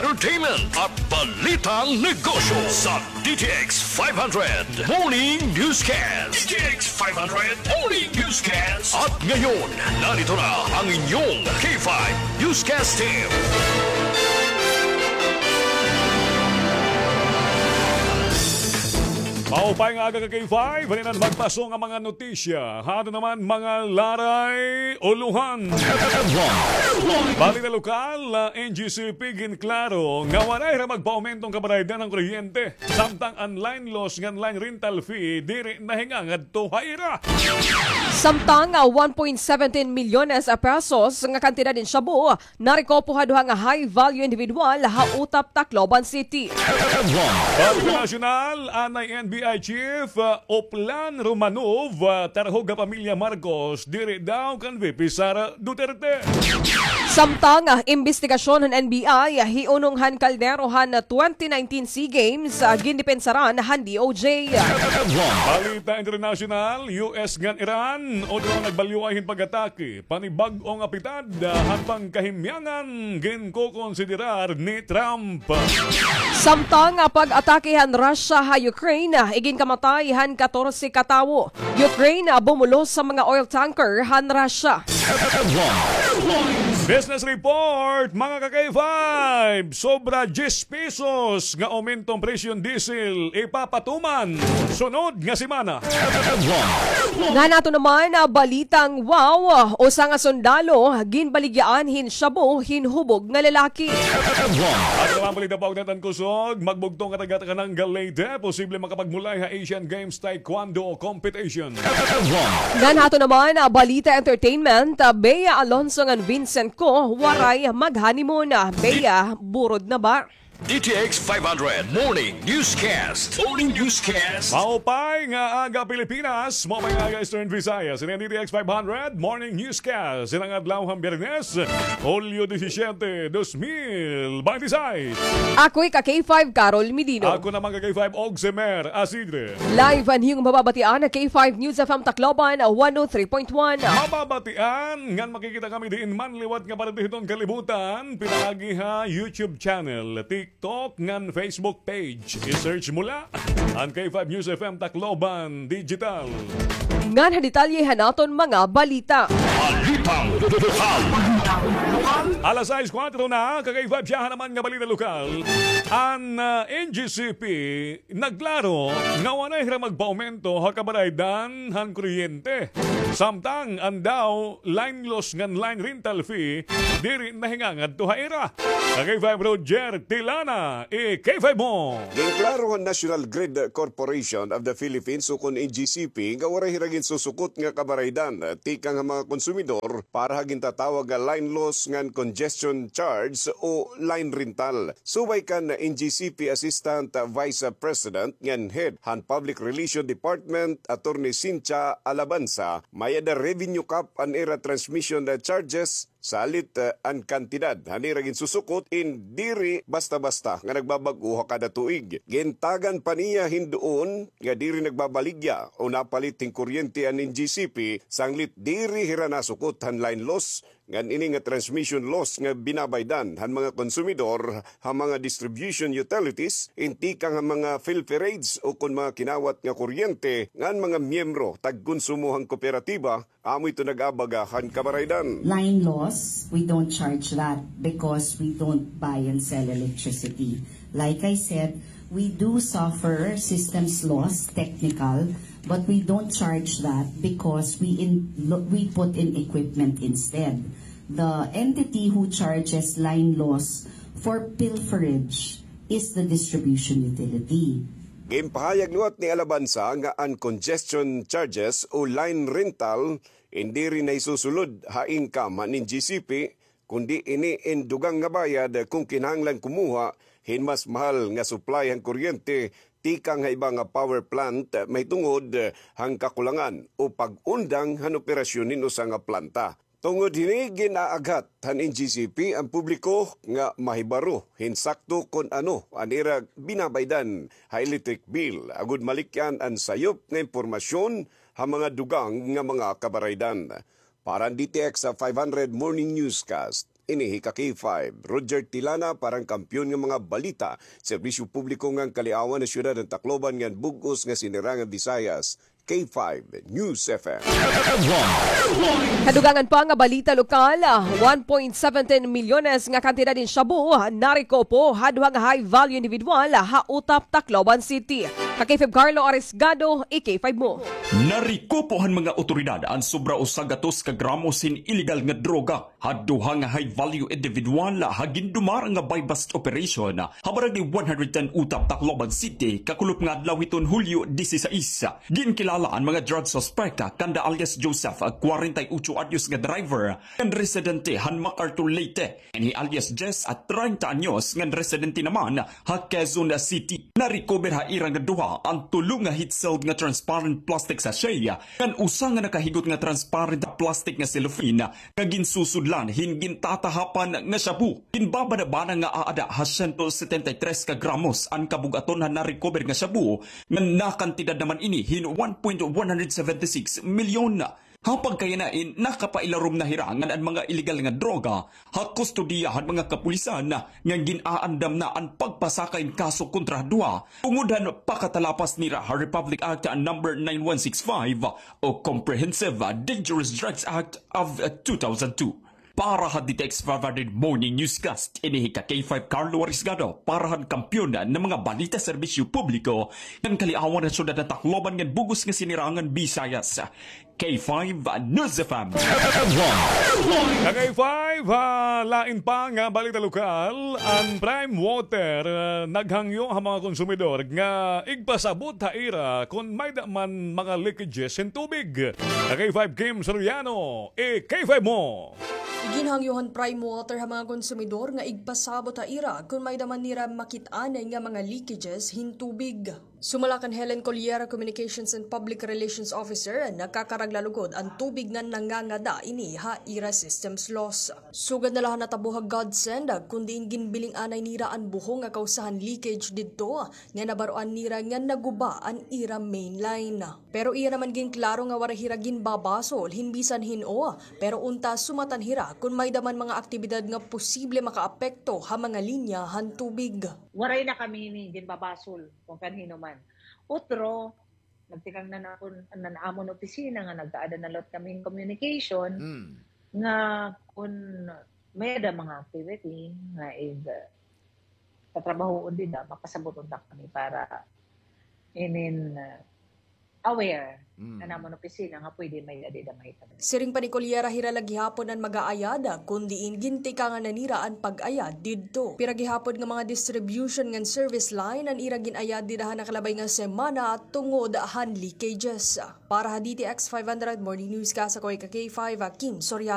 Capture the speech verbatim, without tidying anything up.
entertainment at balitang negosyo sa D T X five hundred Morning Newscast. D T X five hundred Morning Newscast. At ngayon, narito na ang inyong K five Newscast Team. Maupay nga aga ka K five, halinan magpaso nga mga notisya. Hato naman mga laray uluhan. Balita lokal, ah, N G C P ginklaro nga waray ra magpaaumento an kabaraydan han kuryente. Samtang an line loss ngan line rental fee diri nahingangadto ha ira. Samtang, ah, one point seventeen milyones pesos nga kantidad in shabu narekopo ha duha nga high value individual ha Utap, Tacloban City. Balita nasyonal, anay N B I Chief, ah, Oplan Romanov, ah, tarhog ha pamilya Marcos, diri daw kan V P Sara Duterte. Samtang, ah, imbestigasyon han N B I, ah, hiunong han kaldero han twenty nineteen SEA Games, ah, gindepensaran han D O J. Balita internasyonal, U S ngan Iran, otro nagbalyuay hin pag-atake. Panibag-o nga pitad, ah, han pangkahimyangan ginkokonsiderar ni Trump. Samtang, ah, pag-atake han Russia ha Ukraine, ah, iginkamatay han katorse ka tawo. Ukraine, ah, bumulos ha mga oil tanker han Russia. Business report, mga ka-K five, sobra diyes pesos nga aumento an presyo han diesel, ipapatuman sunod nga semana. Ngan ato naman, ah, balitang wow, usa nga sundalo ginbaligyaan hin shabu hin hubog nga lalaki. Ato naman balita, paugnaton kusog, magbugto nga taga-Tanangal, Leyte, posible makapagmulay ha Asian Games Taekwondo Competition. Ngan ato naman, ah, balita entertainment, ah, Bea Alonso ngan Vincent Co, waray mag-honeymoon, ah, Bea, burod na ba? D T X five hundred Morning Newscast. Morning Newscast. Maupay nga aga, Pilipinas. Maupay nga aga, Eastern Visayas. Ini an D T X five hundred Morning Newscast. Ini nga adlaw han Biyernes, Hulyo disisyete, dos mil bente seis. Ako hi ka K five, Carol Medino. Ako naman ka K five, Ogsemer Asidre. Live an iyo mababatian ha K five News F M Tacloban, one oh three point one. Mababatian ngan makikita kami diin man liwat nga parte hiton kalibutan, pinaagi ha YouTube channel, TikTok, ngan Facebook page. I-search mo la an K five News F M Tacloban Digital. Ngan ha detalye han aton mga balita. Balitang lokal. Alas sais kuwatro na, ka-K five, siyahan naman nga balita lokal. An, ah, N G C P nagklaro nga waray hira magpaaumento ha kabaraydan han kuryente. Samtang an daw line loss ngan line rental fee diri nahingangadto ha ira. Ka-K five, Roger Tilana, i-K five mo. Ginklaro han National Grid Corporation of the Philippines ukon N G C P nga waray hira ginsusukot nga kabaraydan tikang ha mga konsumidor para ha gintatawag nga line loss ngan congestion charge o line rental. Subay kan N G C P Assistant Vice President ngan Head han Public Relation Department, Attorney Cynthia Alabanza, may-ada revenue cap an ira transmission charges, salit, eh, an kantidad han ira ginsusukot in diri basta-basta nga nagbabag-o ha kada tuig. Gintagan pa niya hin duon nga diri nagbabaligya o napalit hin kuryente an N G C P sanglit diri hira nasukot han line loss ngan ini nga transmission loss nga binabaydan han mga konsumidor ha mga distribution utilities, in tikang ha mga filterates ukon mga kinawat nga kuryente ngan mga miyembro tagkonsumo han kooperatiba, amo ito nag-abaga han kabaraydan. Line loss, we don't charge that because we don't buy and sell electricity. Like I said, we do suffer systems loss, technical, but we don't charge that because we in-, lo-, we put in equipment instead. The entity who charges line loss for pilferage is the distribution utility. Ginpahayag liwat ni Alabanza nga an congestion charges o line rental in diri nahisusulod ha income han N G C P, kundi ini in dugang nga bayad kon kinahanglan kumuha hin mas mahal nga supply han kuryente tikang ha iba nga power plant mahitungod han kakulangan o pag-undang han operasyon hin usa nga planta. Tungod hini, gin-aaghat han N G C P an publiko nga mahibaro hin sakto kon ano an ira binabaydan ha electric bill agod malikyan an sayop nga impormasyon ha mga dugang nga mga kabaraydan. Para han D T X five hundred Morning Newscast, Ini hi ka K five, Roger Tilana para han Kampiyon nga mga Balita, Serbisyo Publiko ngan Kaliawan ha Syudad han Tacloban ngan bug-os nga Sinirangan Visayas, K five News F M. Headline. Ha dugangan pa nga balita lokal, one point seventeen milyones nga kantidad hin shabu narekupo ha duha nga high value individual ha Utap, Tacloban City. Ka K five Carlo Arisgado, i K five mo. Narekupo han mga awtoridad an sobra usa gatos ka gramos hin iligal nga droga ha duha nga high value individual ha gindumara nga buy-bust operation ha Barangay one hundred ten Utap, Tacloban City, kakulop nga adlaw hiton Hulyo dieciséis. Ginkilala an mga drug suspect kanda alias Joseph, kwarenta y ocho anyos nga driver, ngan residente han MacArthur, Leyte, ngan hi alias Jess, treinta anyos, ngan residente naman ha Quezon City. Narecover ha ira nga duha an tulo nga heat-sealed nga transparent plastic sachet, ngan usa nga nakahigot nga transparent plastic nga cellophane nga ginsusudlan hin gintatahapan nga shabu. Ginbabana-bana nga aada ha siyento setenta y tres ka gramos an kabug-aton han narecover nga shabu, ngan nakantidad naman ini hin one point one hundred seventy six milyon. Ha pagkayana in nakapailarom na hira ngan an mga iligal nga droga ha kustodiya han mga kapulisan, ngan gin-aandam na an pagpasaka hin kaso kontra ha duha tungod han pakatalapas nira ha Republic Act number nine one six five o Comprehensive Dangerous Drugs Act of two thousand two. Para ha D T X five hundred Morning Newscast, ini hi ka K five Carlo Arisgado para han Kampiyon nga mga Balita, Serbisyo Publiko ngan Kaliawan ha Syudad han Tacloban ngan bug-os nga Sinirangan Visayas, K five News F M. Ka K five, ha lain pa nga balita lokal, an Prime Water, ah, naghangyo ha mga konsumidor nga igpasabot ha ira kon may-ada man mga leakages hin tubig. Ka K five Kim Soriano, i K five mo. Iginhangyo han Prime Water ha mga konsumidor nga igpasabot ha ira kon may-ada man nira makit-an nga mga leakages hin tubig. Sumala kan Helen Colliera, Communications and Public Relations Officer, nakakaragla lugod an tubig ngan nangangada ini ha ira systems loss. Sugad na la han natabo ha Godsend, kon diin ginbiling anay nira an buhong nga kawsa han leakage didto, nga nabaroan nira nga naguba an ira main line. Pero iya naman ginklaro nga waray hira ginbabasol hin bisan hin-o, pero unta sumatan hira kon may-ada man mga aktibidad nga posible makaapekto ha mga linya han tubig. Waray na kami hini ginbabasol kon kan hin-o man. Utro, nagtikang na nakon, an amon opisina nga nag-aada na liwat kami hin communication, mm, nga kon may-ada mga activity nga ig, ah, tatrabahoon dida, makasaboton ta kami para inin, ah, aware, mm, an amon opisina nga pwede may-ada dida mahitabo. Siring pa ni Colliera, hira la gihapon an mag-aayad, kon diin gintikangan na nira an pag-ayad didto. Pira gihapon nga mga distribution ngan service line an ira gin-ayad dida ha nakalabay nga semana tungod han leakages. Para ha D T X five hundred Morning Newscast, ako hi ka K five, Kim Soriano.